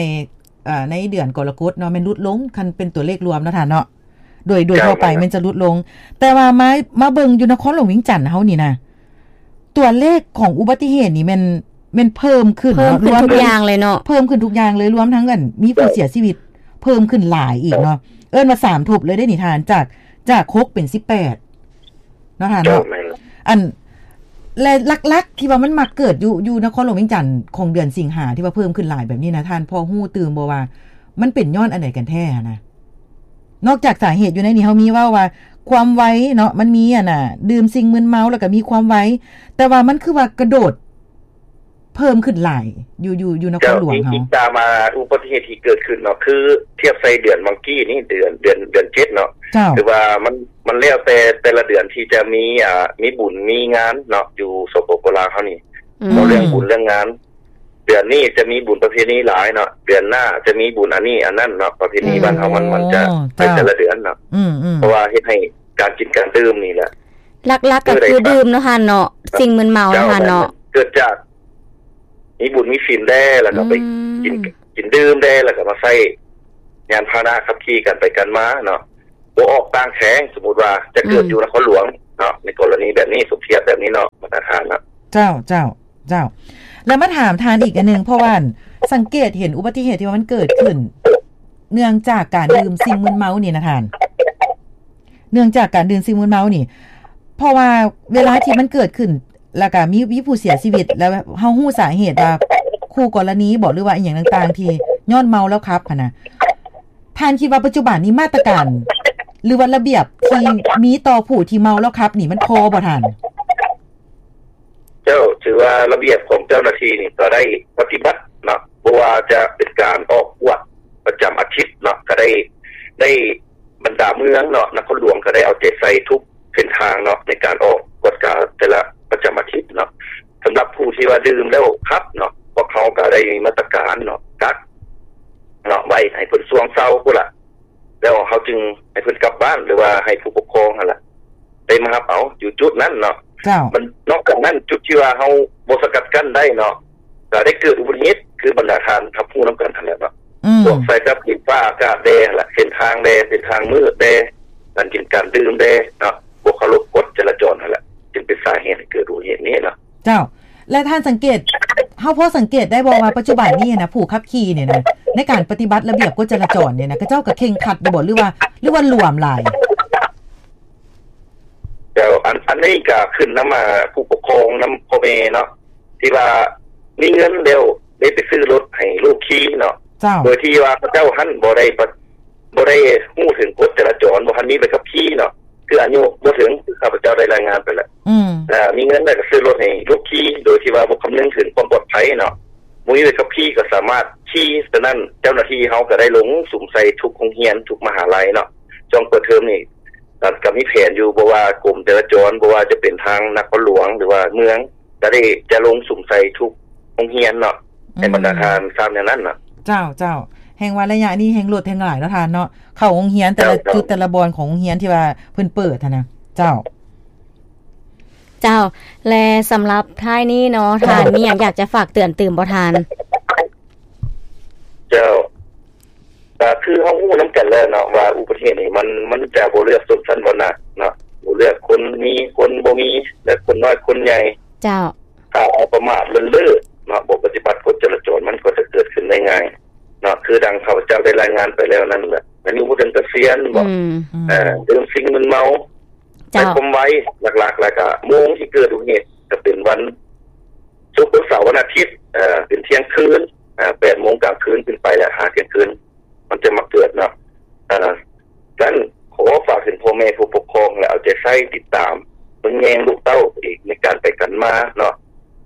ເອີ ໃນເດືອນກໍລະກົດເນາະ ແມ່ນຫຼຸດລົງ ຄັນເປັນຕົວເລກລວມເນາະທ່ານເນາະ ໂດຍ ໂດຍທົ່ວໄປ ເຈົ້າ ແມ່ນຈະຫຼຸດລົງ. ແຕ່ວ່າມາ ມາເບິ່ງຢູ່ນະຄອນຫຼວງວຽງຈັນເຮົານີ້ນະ ຕົວເລກຂອງອຸບັດຕິເຫດນີ້ແມ່ນ ແມ່ນເພີ່ມຂຶ້ນ ເພີ່ມຂຶ້ນທຸກຢ່າງເລີຍເນາະ ເພີ່ມຂຶ້ນທຸກຢ່າງເລີຍ ລວມທັງອັນມີຜູ້ເສຍຊີວິດເພີ່ມຂຶ້ນຫຼາຍອີກເນາະ ເອີ້ນວ່າສາມທົບເລີຍເດ້ນີ້ທ່ານ ຈາກ ຈາກຫົກເປັນສິບແປດເນາະທ່ານເນາະ ແມ່ນ ອັນ ແລະ ຫຼັກໆ ທີ່ວ່າມັນມັກເກີດຢູ່ ຢູ່ນະຄອນຫຼວງວຽງຈັນຂອງເດືອນສິງຫາ ທີ່ວ່າເພີ່ມຂຶ້ນຫຼາຍແບບນີ້ນະ ທ່ານພໍຮູ້ຕື່ມບໍ່ວ່າ ມັນເປັນຍ້ອນອັນໃດກັນແທ້ຫັ້ນນະ? ນອກຈາກສາເຫດຢູ່ໃນນີ້ ເຮົາມີເວົ້າວ່າຄວາມໄວເນາະ ມັນມີອັນນ່າ ດື່ມສິ່ງມຶນເມົາ ແລ້ວກໍມີຄວາມໄວ ແຕ່ວ່າມັນຄືວ່າກະໂດດເພີ່ມຂຶ້ນຫຼາຍຢູ່ ຢູ່ ຢູ່ນະຄອນຫຼວງເຮົາ ເຈົ້າ ອີງຕາມ ອ່າ ອຸບັດຕິເຫດທີ່ເກີດຂຶ້ນເນາະ ຄືທຽບໃສ່ເດືອນຫວ່າງກີ້ນີ້ ເດືອນ ເດືອນ ເດືອນເຈັດເນາະ ເຈົ້າ ຖືວ່າມັນ ມັນແລ້ວແຕ່ແຕ່ລະເດືອນທີ່ຈະມີ ອ່າ ມີບຸນມີງານເນາະ ຢູ່ ສປປ ລາວ ເຮົານີ້ ອືມ ເວົ້າເລື່ອງບຸນເລື່ອງງານ ເດືອນນີ້ຈະມີບຸນປະເພນີຫຼາຍເນາະ ເດືອນໜ້າຈະມີບຸນອັນນີ້ອັນນັ້ນເນາະ ປະເພນີ ອືມ ບ້ານເຮົາມັນ ມັນຈະ ໂອ້ ເຈົ້າ ໃນແຕ່ລະເດືອນເນາະ ອືມໆ ເພາະວ່າເຮັດໃຫ້ການກິນການດື່ມນີ້ແຫຼະ ຫຼັກໆ ກໍຄືດື່ມເນາະທ່ານເນາະ ສິ່ງມຶນເມົາ ເຈົ້າ ທ່ານເນາະ ແມ່ນ ເກີດຈາກມີບຸນມີສິນແດ່ ແລ້ວກໍໄປ ອືມ ກິນ ກິນດື່ມແດ່ ແລ້ວກໍມາໃຊ້ຍານພາຫະນະຂັບຂີ່ກັນໄປກັນມາເນາະ ບໍ່ອອກຕ່າງແຂວງ ສົມມຸດວ່າຈະເກີດ ອືມ ຢູ່ນະຄອນຫຼວງເນາະ ໃນກໍລະນີແບບນີ້ ສົມທຽບແບບນີ້ເນາະ ມາດຕະຖານເນາະ ເຈົ້າ ເຈົ້າ ເຈົ້າ ແລ້ວມາຖາມທ່ານອີກອັນໜຶ່ງ ເພາະວ່າສັງເກດເຫັນອຸບັດຕິເຫດທີ່ວ່າມັນເກີດຂຶ້ນ ເນື່ອງຈາກການດື່ມສິ່ງມຶນເມົານີ້ນະທ່ານ ເນື່ອງຈາກການດື່ມສິ່ງມຶນເມົານີ້ ເພາະວ່າເວລາທີ່ມັນເກີດຂຶ້ນ ແລ້ວກະມີ ມີຜູ້ເສຍຊີວິດ ແລ້ວເຮົາຮູ້ສາເຫດວ່າຄູ່ກໍລະນີບໍ ຫຼືວ່າອີ່ຫຍັງຕ່າງໆ ທີ່ຍ້ອນເມົາແລ້ວຂັບຫັ້ນນະ ທ່ານຄິດວ່າປັດຈຸບັນນີ້ມາດຕະການ ຫຼືວ່າລະບຽບທີ່ມີຕໍ່ຜູ້ທີ່ເມົາແລ້ວຂັບນີ້ ມັນພໍບໍ່ທ່ານ? ເຈົ້າ ຖືວ່າລະບຽບຂອງເຈົ້າໜ້າທີ່ນີ້ກໍໄດ້ປະຕິບັດເນາະ ບໍ່ວ່າຈະເປັນການອອກກວດປະຈຳອາທິດເນາະ ກໍໄດ້ ໄດ້ບັນດາເມືອງເນາະ ນະຄອນຫຼວງກໍໄດ້ເອົາໃຈໃສ່ທຸກເສັ້ນທາງເນາະ ໃນການອອກກວດກາແຕ່ລະປະຈຳອາທິດເນາະ ສຳລັບຜູ້ທີ່ວ່າດື່ມແລ້ວຂັບເນາະ ພວກເຮົາກໍໄດ້ມີມາດຕະການເນາະ ກັກເນາະ ໄວ້ໃຫ້ເພິ່ນຊ່ວງເຊົາພຸ້ນລະ ແລ້ວເຮົາຈຶ່ງໃຫ້ເພິ່ນກັບບ້ານ ຫຼືວ່າໃຫ້ຜູ້ປົກຄອງຫັ້ນລະ ໄດ້ມາຮັບເອົາຢູ່ຈຸດນັ້ນເນາະ ເຈົ້າ ມັນ ນອກຈາກນັ້ນ ຈຸດທີ່ວ່າເຮົາບໍ່ສະກັດກັ້ນໄດ້ເນາະ ກໍໄດ້ເກີດອຸບັດຕິເຫດ ຄືບັນດາທ່ານຮັບຮູ້ນຳກັນຫັ້ນແຫຼະເນາະ ອືມ ພວກສາຍໄຟຟ້າ ດິນຟ້າ ອາກາດແດ່ຫັ້ນລະ ເສັ້ນທາງແດ່ ເສັ້ນທາງມືດແດ່ ການກິນການດື່ມແດ່ເນາະ ບໍ່ເຄົາລົບກົດຈະລາຈອນຫັ້ນແຫຼະ ຈຶ່ງເປັນສາເຫດໃຫ້ເກີດອຸບັດຕິເຫດນີ້ເນາະ ເຈົ້າ ແລະທ່ານສັງເກດ ເຮົາພໍສັງເກດໄດ້ບໍ່ວ່າປັດຈຸບັນນີ້ນະ ຜູ້ຂັບຂີ່ນີ້ນະ ໃນການປະຕິບັດລະບຽບກົດຈະລາຈອນນີ້ນະ ເຂົາເຈົ້າກໍເຄັ່ງຄັດຢູ່ບໍ່ ຫຼືວ່າ ຫຼືວ່າຫຼວມຫຼາຍ? ເຈົ້າ ອັນ ອັນນີ້ກໍຂຶ້ນນຳ ອ່າ ຜູ້ປົກຄອງ ນຳພໍ່ແມ່ເນາະ ທີ່ວ່າມີເງິນແລ້ວໄດ້ໄປຊື້ລົດໃຫ້ລູກຂີ່ເນາະ ເຈົ້າ ໂດຍທີ່ວ່າເຂົາເຈົ້າຫັ້ນບໍ່ໄດ້ປະ ບໍ່ໄດ້ຮູ້ເຖິງກົດຈະລາຈອນ ບໍ່ທັນມີໃບຂັບຂີ່ເນາະ ຄືອາຍຸບໍ່ເຖິງ ຄືຂ້າພະເຈົ້າໄດ້ລາຍງານໄປແລ້ວ ອືມ ເອີ ມີເງິນແລ້ວກໍຊື້ລົດໃຫ້ລູກຂີ່ ໂດຍທີ່ວ່າບໍ່ຄຳນຶງເຖິງຄວາມປອດໄພເນາະ ບໍ່ມີໃບຂັບຂີ່ກໍສາມາດຂີ່ ສະນັ້ນເຈົ້າໜ້າທີ່ເຮົາກໍໄດ້ລົງສຸມໃສ່ທຸກໂຮງຮຽນ ທຸກມະຫາໄລເນາະ ຊ່ວງເປີດເທີມນີ້ ກໍ ກໍມີແຜນຢູ່ ບໍ່ວ່າກົມຈະລາຈອນ ບໍ່ວ່າຈະເປັນທາງນະຄອນຫຼວງ ຫຼືວ່າເມືອງ ກໍໄດ້ຈະລົງສຸມໃສ່ທຸກໂຮງຮຽນເນາະ ໃຫ້ບັນດາທ່ານຊາບແນວນັ້ນເນາະ ເຈົ້າ ເຈົ້າ ແຮ່ງວ່າໄລຍະນີ້ແຮ່ງລົດແຮ່ງຫຼາຍເນາະທ່ານເນາະ ເຂົ້າໂຮງຮຽນແຕ່ລະຈຸດ ເຈົ້າ ແຕ່ລະບ່ອນຂອງໂຮງຮຽນທີ່ວ່າເພິ່ນເປີດຫັ້ນນະ ເຈົ້າ ເຈົ້າ ແລະສຳລັບທ້າຍນີ້ເນາະ ເຈົ້າ ທ່ານມີຫຍັງຢາກຈະຝາກເຕືອນຕື່ມບໍ່ທ່ານ? ເຈົ້າ ກໍຄືເຮົາຮູ້ນຳກັນແລ້ວເນາະວ່າອຸບັດຕິເຫດນີ້ມັນ ມັນຈະບໍ່ເລືອກຊົນຊັ້ນວັນນະເນາະ ບໍ່ເລືອກຄົນມີຄົນບໍ່ມີ ແລະຄົນນ້ອຍຄົນໃຫຍ່ ເຈົ້າ ຖ້າເຮົາປະໝາດເລີນເລີເນາະ ບໍ່ປະຕິບັດກົດຈະລາຈອນ ມັນກໍຈະເກີດຂຶ້ນໄດ້ງ່າຍເນາະ ຄືດັ່ງຂ້າພະເຈົ້າໄດ້ລາຍງານໄປແລ້ວນັ້ນແຫຼະ ອາຍຸບໍ່ເຖິງກະສຽນບໍ ອືມ ເອີ ດື່ມສິ່ງມຶນເມົາ ເຈົ້າ ໃນຄວາມໄວ ຫຼັກໆ ແລ້ວກະໂມງທີ່ເກີດອຸບັດຕິເຫດ ກະເປັນວັນສຸກ ວັນເສົາ ວັນອາທິດ ເອີ ເປັນທ່ຽງຄືນ ເອີ ແປດໂມງກາງຄືນຂຶ້ນໄປ ແລ້ວຫາທ່ຽງຄືນ ມັນຈະມາເກີດເນາະ ເອີ ສະນັ້ນ ຂໍຝາກເຖິງພໍ່ແມ່ຜູ້ປົກຄອງ ແລະ ເອົາໃຈໃສ່ຕິດຕາມເບິ່ງແຍງລູກເຕົ້າອີກ ໃນການໄປກັນມາເນາະ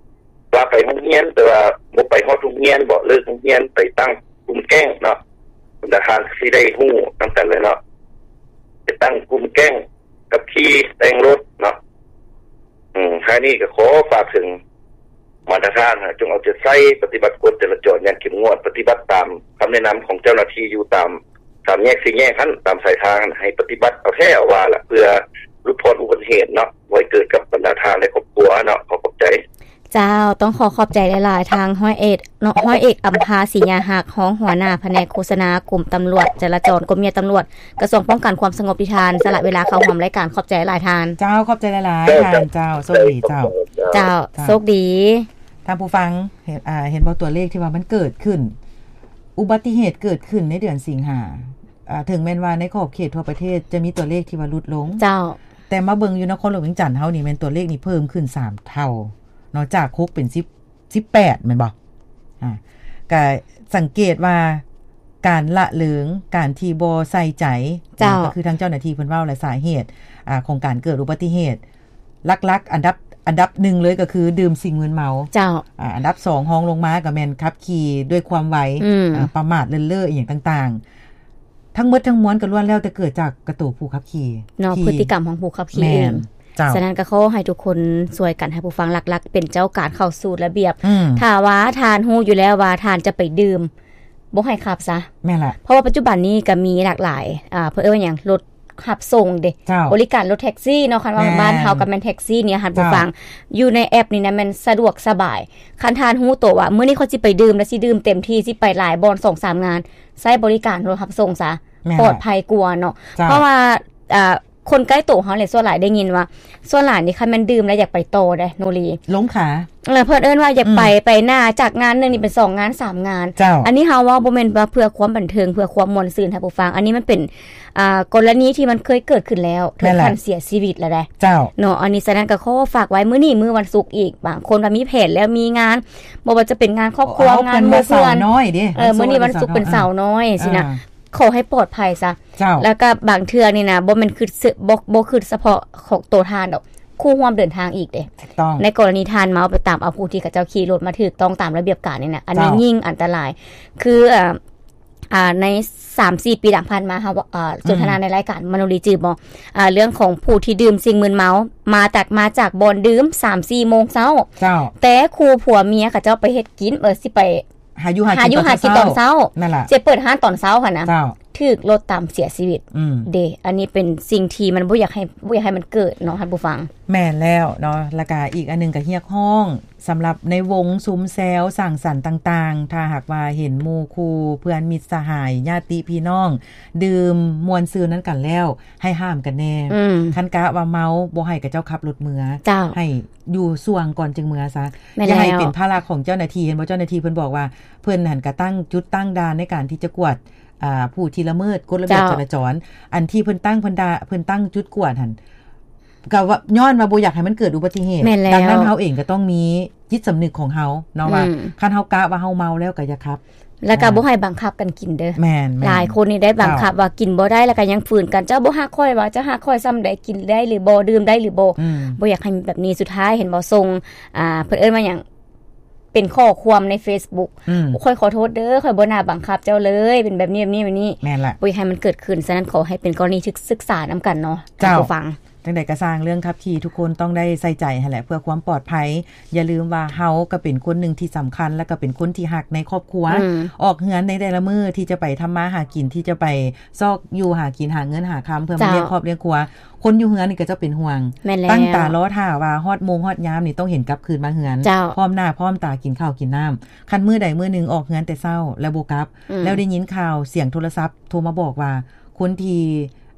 ວ່າໄປໂຮງຮຽນ ແຕ່ວ່າບໍ່ໄປຮອດໂຮງຮຽນບໍ ເລີກໂຮງຮຽນ ໄປຕັ້ງກຸ່ມແກ້ງເນາະ ບັນດາທ່ານກໍຊິໄດ້ຮູ້ນຳກັນແຫຼະເນາະ ໄປຕັ້ງກຸ່ມແກ້ງ ຂັບຂີ່ແຕ່ງລົດເນາະ ອືມ ທ້າຍນີ້ກໍຂໍຝາກເຖິງມາດຕະຖານ ຈົ່ງເອົາໃຈໃສ່ປະຕິບັດກົດຈະລາຈອນຢ່າງເຂັ້ມງວດ ປະຕິບັດຕາມຄຳແນະນຳຂອງເຈົ້າໜ້າທີ່ຢູ່ຕາມສາມແຍກສີ່ແຍກຫັ້ນ ຕາມສາຍທາງຫັ້ນ ໃຫ້ປະຕິບັດເອົາແທ້ເອົາວ່າລະ ເພື່ອຫຼຸດຜ່ອນອຸບັດຕິເຫດເນາະ ບໍ່ໃຫ້ເກີດກັບບັນດາທ່ານ ແລະ ຄອບຄົວເນາະ ຂໍຂອບໃຈ. ເຈົ້າ ຕ້ອງຂໍຂອບໃຈຫຼາຍໆ ທາງຮ້ອຍເອກເນາະ ຮ້ອຍເອກ ອຳພາ ສີຍາຮັກ ຮອງຫົວໜ້າພະແນກໂຄສະນາ ກົມຕຳຫຼວດຈະລາຈອນ ກົມເມຍຕຳຫຼວດ ກະຊວງປ້ອງກັນຄວາມສະຫງົບ ທີ່ທ່ານສະຫຼະເວລາເຂົ້າຮ່ວມລາຍການ ຂອບໃຈຫຼາຍໆ ທ່ານ. ເຈົ້າ ຂອບໃຈຫຼາຍໆ ເຈົ້າ ທ່ານ ເຈົ້າ ໂຊກດີເຈົ້າ. ເຈົ້າ ເຈົ້າ ໂຊກດີ. ທ່ານຜູ້ຟັງ ເຫັນ ອ່າ ເຫັນບໍ່ ຕົວເລກທີ່ວ່າມັນເກີດຂຶ້ນ ອຸບັດຕິເຫດເກີດຂຶ້ນໃນເດືອນສິງຫາ ອ່າ ເຖິງແມ່ນວ່າໃນຂອບເຂດທົ່ວປະເທດຈະມີຕົວເລກທີ່ວ່າຫຼຸດລົງ ເຈົ້າ ແຕ່ມາເບິ່ງຢູ່ນະຄອນຫຼວງວຽງຈັນເຮົານີ້ ແມ່ນຕົວເລກນີ້ເພີ່ມຂຶ້ນສາມເທົ່າເນາະ ຈາກຫົກເປັນສິບ ສິບແປດ ແມ່ນບໍ່? ອ່າ ກະສັງເກດວ່າການລະເລີງ ການທີ່ບໍ່ໃສ່ໃຈ ເຈົ້າ ກໍຄືທາງເຈົ້າໜ້າທີ່ເພິ່ນເວົ້າແຫຼະ ສາເຫດ ອ່າ ຂອງການເກີດອຸບັດຕິເຫດ ຫຼັກໆ ອັນດັບ ອັນດັບໜຶ່ງເລີຍກໍຄືດື່ມສິ່ງມຶນເມົາ ເຈົ້າ ອ່າ ອັນດັບສອງຮອງລົງມາກໍແມ່ນຂັບຂີ່ດ້ວຍຄວາມໄວ ອືມ ອ່າ ປະໝາດເລີນເລີອີ່ຫຍັງຕ່າງໆ ທັງໝົດທັງມວນກໍລ້ວນແລ້ວແຕ່ເກີດຈາກກະໂຕຜູ້ຂັບຂີ່ເນາະ ທີ່ ພຶດຕິກຳຂອງຜູ້ຂັບຂີ່ເອງ ແມ່ນ ເຈົ້າ ສະນັ້ນກໍຂໍໃຫ້ທຸກຄົນຊ່ວຍກັນ ໃຫ້ຜູ້ຟັງຫຼັກໆ ເປັນເຈົ້າການເຂົ້າສູ່ລະບຽບ ອືມ ຖ້າວ່າທ່ານຮູ້ຢູ່ແລ້ວວ່າທ່ານຈະໄປດື່ມ ບໍ່ໃຫ້ຂັບຊະ ແມ່ນລະ ເພາະວ່າປັດຈຸບັນນີ້ກໍມີຫຼາກຫຼາຍ ອ່າ ເພິ່ນເອີ້ນວ່າຫຍັງ ລົດຮັບສົ່ງເດ້ ເຈົ້າ ບໍລິການລົດແທັກຊີເນາະ ຄັນວ່າ ແມ່ນ ບ້ານເຮົາກໍແມ່ນແທັກຊີນີ້ ທ່ານຜູ້ຟັງ ເຈົ້າ ຢູ່ໃນແອັບນີ້ນະແມ່ນສະດວກສະບາຍ ຄັນທ່ານຮູ້ໂຕວ່າມື້ນີ້ຂ້ອຍຊິໄປດື່ມ ແລະ ຊິດື່ມເຕັມທີ່ ຊິໄປຫຼາຍບ່ອນ ສອງສາມງານ ໃຊ້ບໍລິການລົດຮັບສົ່ງຊະ ແມ່ນລະ ປອດໄພກວ່າເນາະ ເຈົ້າ ເພາະວ່າ ອ່າ ຄົນໃກ້ໂຕເຮົາແຫຼະ ສ່ວນຫຼາຍໄດ້ຍິນວ່າ ສ່ວນຫຼາຍນີ້ຄັນແມ່ນດື່ມແລ້ວຢາກໄປຕໍ່ເດ້ ໂນລີ ລົງຂາ ເອີ ເພິ່ນເອີ້ນວ່າຢາກໄປ ອືມ ໄປໜ້າ ຈາກງານໜຶ່ງນີ້ເປັນສອງງານ ສາມງານ ເຈົ້າ ອັນນີ້ເຮົາເວົ້າບໍ່ແມ່ນວ່າເພື່ອຄວາມບັນເທີງ ເພື່ອຄວາມມ່ວນຊື່ນ ທ່ານຜູ້ຟັງ ອັນນີ້ມັນເປັນ ອ່າ ກໍລະນີທີ່ມັນເຄີຍເກີດຂຶ້ນແລ້ວ ເຖິງຂັ້ນເສຍຊີວິດແລ້ວເດ້ ເຈົ້າ ເນາະ ອັນນີ້ ສະນັ້ນກໍຂໍຝາກໄວ້ ມື້ນີ້ມື້ວັນສຸກອີກ ບາງຄົນວ່າມີແຜນແລ້ວ ມີງານ ບໍ່ວ່າຈະເປັນງານຄອບຄົວ ເອົາ ງານໝູ່ເພື່ອນ ເອີ ມື້ນີ້ວັນສຸກເປັນສາວນ້ອຍ ເອີ ຊິນະ ອ່າ ຂໍໃຫ້ປອດໄພຊະ ເຈົ້າ ແລ້ວກໍບາງເທື່ອນີ້ນະ ບໍ່ແມ່ນຄິດ ບໍ່ ບໍ່ຄິດສະເພາະຂອງໂຕທ່ານດອກ ຄູ່ຮ່ວມເດີນທາງອີກເດ້ ຖືກຕ້ອງ ໃນກໍລະນີທ່ານເມົາໄປຕາມເອົາຜູ້ທີ່ເຂົາເຈົ້າຂີ່ລົດມາຖືກຕ້ອງຕາມລະບຽບການນີ້ນະ ອັນນີ້ ເຈົ້າ ຍິ່ງອັນຕະລາຍ ຄື ເອີ ອ່າ ໃນສາມສີ່ປີຫຼັງຜ່ານມາ ເຮົາ ເອີ ສົນທະນາ ອືມ ໃນລາຍການມະໂນລີ ຈື່ບໍ່ ອ່າ ເລື່ອງຂອງຜູ້ທີ່ດື່ມສິ່ງມຶນເມົາ ມາຈາກ ມາຈາກບ່ອນດື່ມສາມສີ່ໂມງເຊົ້າ ເຈົ້າ ແຕ່ຄູ່ຜົວເມຍເຂົາເຈົ້າໄປເຮັດກິນ ເອີ ຊິໄປ ຫາຢູ່ຫາກິນ ຫາຢູ່ຫາກິນຕອນເຊົ້າ ຕອນເຊົ້າ ນັ້ນລະ ຊິເປີດຮ້ານຕອນເຊົ້າຫັ້ນນະ ເຈົ້າ ຖືກລົດຕຳເສຍຊີວິດ ອືມ ເດ້ ອັນນີ້ເປັນສິ່ງທີ່ມັນບໍ່ຢາກໃຫ້ ບໍ່ຢາກໃຫ້ມັນເກີດເນາະ ທ່ານຜູ້ຟັງ ແມ່ນແລ້ວເນາະ ແລ້ວກະອີກອັນໜຶ່ງກະຮຽກຮ້ອງ ສຳລັບໃນວົງຊຸມແຊວສັງສັນຕ່າງໆ ຖ້າຫາກວ່າເຫັນໝູ່ຄູ່ເພື່ອນມິດສະຫາຍ ຍາດຕິພີ່ນ້ອງ ດື່ມມ່ວນຊື່ນນຳກັນແລ້ວ ໃຫ້ຫ້າມກັນແດ່ ອືມ ຄັນກະວ່າເມົາ ບໍ່ໃຫ້ເຂົາເຈົ້າຂັບລົດເມືອ ເຈົ້າ ໃຫ້ຢູ່ຊ່ວງກ່ອນຈຶ່ງເມືອຊະ ແມ່ນແລ້ວ ຢ່າໃຫ້ເປັນພາລະຂອງເຈົ້າໜ້າທີ່ ເຫັນບໍ່ ເຈົ້າໜ້າທີ່ເພິ່ນບອກວ່າ ເພິ່ນຫັ້ນກະຕັ້ງຈຸດຕັ້ງດ່ານໃນການທີ່ຈະກວດ ອ່າ ຜູ້ທີ່ລະເມີດກົດລະບຽບ ເຈົ້າ ຈະລາຈອນ ອັນທີ່ເພິ່ນຕັ້ງ ເພິ່ນດາ ເພິ່ນຕັ້ງຈຸດກວດຫັ້ນ ກໍວ່າ ຍ້ອນວ່າບໍ່ຢາກໃຫ້ມັນເກີດອຸບັດຕິເຫດ ແມ່ນແລ້ວ ດັ່ງນັ້ນເຮົາເອງກໍຕ້ອງມີຈິດສຳນຶກຂອງເຮົາເນາະ ອືມ ວ່າຄັນເຮົາກະວ່າເຮົາເມົາແລ້ວກໍຢ່າຂັບ ແລ້ວກໍ ອ່າ ບໍ່ໃຫ້ບັງຄັບກັນກິນເດີ ແມ່ນໆ ຫຼາຍຄົນນີ້ໄດ້ບັງຄັບ ເຈົ້າ ວ່າກິນບໍ່ໄດ້ ແລ້ວກໍຍັງຝືນກັນ ເຈົ້າບໍ່ຮັກຂ້ອຍຫວາ ເຈົ້າຮັກຂ້ອຍສ່ຳໃດ ກິນໄດ້ຫຼືບໍ່ ດື່ມໄດ້ຫຼືບໍ່ ອືມ ບໍ່ຢາກໃຫ້ມີແບບນີ້ ສຸດທ້າຍເຫັນບໍ່ ສົ່ງ ອ່າ ເພິ່ນເອີ້ນວ່າຫຍັງ ເປັນຂໍ້ຄວາມໃນເຟສບຸກ ອືມ ຂ້ອຍຂໍໂທດເດີ ຂ້ອຍບໍ່ໜ້າບັງຄັບເຈົ້າເລີຍ ເປັນແບບນີ້ ແບບນີ້ ແບບນີ້ ແມ່ນລະ ບໍ່ຢາກໃຫ້ມັນເກີດຂຶ້ນ ສະນັ້ນຂໍໃຫ້ເປັນກໍລະນີທີ່ສຶກສານຳກັນເນາະ ເຈົ້າ ທ່ານຜູ້ຟັງ ຈັ່ງໃດກໍຊ່າງ ເລື່ອງຂັບຂີ່ທຸກຄົນຕ້ອງໄດ້ໃສ່ໃຈຫັ້ນແຫຼະ ເພື່ອຄວາມປອດໄພ ຢ່າລືມວ່າເຮົາກໍເປັນຄົນໜຶ່ງທີ່ສຳຄັນ ແລະກໍເປັນຄົນທີ່ຮັກໃນຄອບຄົວ ອືມ ອອກເຮືອນໃນແຕ່ລະມື້ທີ່ຈະໄປທຳມາຫາກິນ ທີ່ຈະໄປຊອກຢູ່ຫາກິນ ຫາເງິນຫາຄຳ ເພື່ອມາ ເຈົ້າ ລ້ຽງຄອບລ້ຽງຄົວ ຄົນຢູ່ເຮືອນນີ້ກໍຈະເປັນຫ່ວງ ແມ່ນແລ້ວ ຕັ້ງຕາລໍຖ້າວ່າຮອດໂມງຮອດຍາມນີ້ຕ້ອງເຫັນກັບຄືນມາເຮືອນ ເຈົ້າ ພ້ອມໜ້າພ້ອມຕາກິນເຂົ້າກິນນ້ຳ ຄັນມື້ໃດມື້ໜຶ່ງອອກເຮືອນແຕ່ເຊົ້າແລ້ວບໍ່ກັບ ອືມ ແລ້ວໄດ້ຍິນຂ່າວສຽງໂທລະສັບໂທມາບອກວ່າ ຄົນທີ່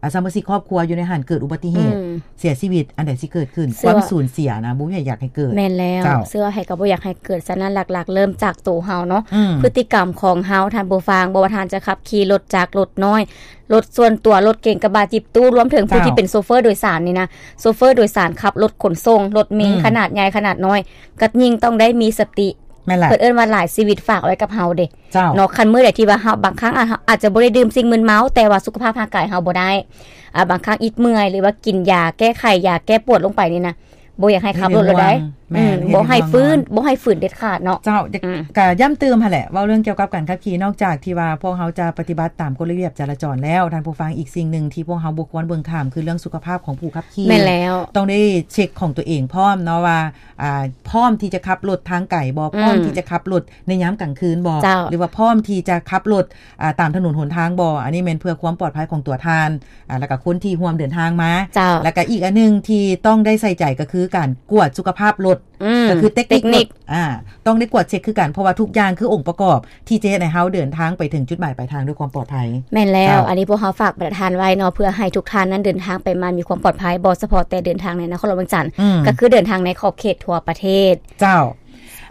ອາ ສະມາຊິກຄອບຄົວຢູ່ໃນຫັ້ນເກີດອຸບັດຕິເຫດ ອືມ ເສຍຊີວິດ ອັນໃດຊິເກີດຂຶ້ນ ຄວາມສູນເສຍນະ ບໍ່ມີໃຜຢາກໃຫ້ເກີດ ແມ່ນແລ້ວ ເຈົ້າ ເຊື່ອໃຜກໍບໍ່ຢາກໃຫ້ເກີດ ສະນັ້ນຫຼັກໆ ເລີ່ມຈາກໂຕເຮົາເນາະ ອືມ ພຶດຕິກຳຂອງເຮົາ ທ່ານຜູ້ຟັງ ບໍ່ວ່າທ່ານຈະຂັບຂີ່ລົດຈັກ ລົດນ້ອຍ ລົດສ່ວນຕົວ ລົດເກັງ ກະບະ ຈິບຕູ້ ລວມເຖິງຜູ້ ເຈົ້າ ທີ່ເປັນໂຊເຟີໂດຍສານນີ້ນະ ໂຊເຟີໂດຍສານຂັບລົດຂົນສົ່ງ ລົດເມ ອືມ ຂະໜາດໃຫຍ່ຂະໜາດນ້ອຍ ກໍຍິ່ງຕ້ອງໄດ້ມີສະຕິ ແມ່ນລະ ເພິ່ນເອີ້ນວ່າຫຼາຍຊີວິດຝາກໄວ້ກັບເຮົາເດ້ ເຈົ້າ ເນາະ ຄັນມື້ໃດທີ່ວ່າເຮົາ ບາງຄັ້ງອາດ ເຮົາອາດຈະບໍ່ໄດ້ດື່ມສິ່ງມຶນເມົາ ແຕ່ວ່າສຸຂະພາບຮ່າງກາຍເຮົາບໍ່ໄດ້ ອາ ບາງຄັ້ງອິດເມື່ອຍ ຫຼືວ່າກິນຢາແກ້ໄຂ ຢາແກ້ປວດລົງໄປນີ້ນະ ບໍ່ຢາກໃຫ້ຂັບລົດແລ້ວໃດ໋ ແມ່ນ ອືມ ເຮັດໃຫ້ ບໍ່ໃຫ້ຝືນ ບໍ່ໃຫ້ຝືນເດັດຂາດເນາະ ເຈົ້າ ອືມ ກະຢ້ຳຕື່ມຫັ້ນແຫຼະ ເວົ້າເລື່ອງກ່ຽວກັບການຂັບຂີ່ ນອກຈາກທີ່ວ່າພວກເຮົາຈະປະຕິບັດຕາມກົດລະບຽບຈະລາຈອນແລ້ວ ທ່ານຜູ້ຟັງ ອີກສິ່ງໜຶ່ງທີ່ພວກເຮົາບໍ່ຄວນເບິ່ງຂ້າມ ຄືເລື່ອງສຸຂະພາບຂອງຜູ້ຂັບຂີ່ ແມ່ນແລ້ວ ຕ້ອງໄດ້ເຊັກຂອງຕົວເອງພ້ອມເນາະວ່າ ອ່າ ພ້ອມທີ່ຈະຂັບລົດທາງໄກບໍ່ ອືມ ພ້ອມທີ່ຈະຂັບລົດໃນຍາມກາງຄືນບໍ່ ເຈົ້າ ຫຼືວ່າພ້ອມທີ່ຈະຂັບລົດ ອ່າ ຕາມຖະໜົນຫົນທາງບໍ່ ອັນນີ້ແມ່ນເພື່ອຄວາມປອດໄພຂອງຕົວທ່ານ ອ່າ ແລ້ວກໍຄົນທີ່ຮ່ວມເດີນທາງມາ ເຈົ້າ ແລ້ວກໍອີກອັນໜຶ່ງທີ່ຕ້ອງໄດ້ໃສ່ໃຈກໍຄືການກວດສຸຂະພາບລົດ ອືມ ກໍຄືເຕັກນິກ ເຕັກນິກລົດ ອ່າ ຕ້ອງໄດ້ກວດເຊັກຄືກັນ ເພາະວ່າທຸກຢ່າງຄືອົງປະກອບທີ່ຈະເຮັດໃຫ້ເຮົາເດີນທາງໄປເຖິງຈຸດໝາຍປາຍທາງດ້ວຍຄວາມປອດໄພ ແມ່ນແລ້ວ ເຈົ້າ ອັນນີ້ພວກເຮົາຝາກປະທານໄວ້ເນາະ ເພື່ອໃຫ້ທຸກທ່ານນັ້ນເດີນທາງໄປມາມີຄວາມປອດໄພ ບໍ່ສະເພາະແຕ່ເດີນທາງໃນນະຄອນຫຼວງວຽງຈັນ ອືມ ກໍຄືເດີນທາງໃນຂອບເຂດທົ່ວປະເທດ ເຈົ້າ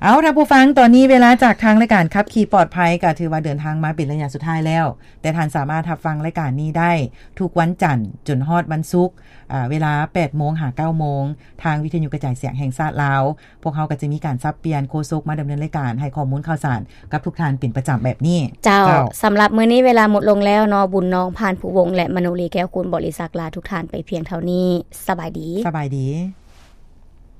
ເອົາ ທ່ານຜູ້ຟັງ, ຕອນນີ້ເວລາຈາກທາງລາຍການຂັບຂີ່ປອດໄພ ກໍຖືວ່າເດີນທາງມາເປັນໄລຍະສຸດທ້າຍແລ້ວ, ແຕ່ທ່ານສາມາດຮັບຟັງລາຍການນີ້ໄດ້ທຸກວັນຈັນຈົນຮອດວັນສຸກ, ອາ, ເວລາແປດໂມງຫາເກົ້າໂມງ ທາງວິທະຍຸກະຈາຍສຽງແຫ່ງຊາດລາວ. ພວກເຮົາກໍຈະມີການສັບປ່ຽນໂຄສົກມາດຳເນີນລາຍການ ໃຫ້ຂໍ້ມູນຂ່າວສານກັບທຸກທ່ານເປັນປະຈຳແບບນີ້. ເຈົ້າ, ເຈົ້າ. ສຳລັບມື້ນີ້ເວລາໝົດລົງແລ້ວເນາະ, ບຸນນອງ ພານພູວົງ ແລະ ມະໂນລີ ແກ້ວຄູນ ບໍລິສັກ ລາທຸກທ່ານໄປພຽງເທົ່ານີ້. ສະບາຍດີ. ສະບາຍດີ.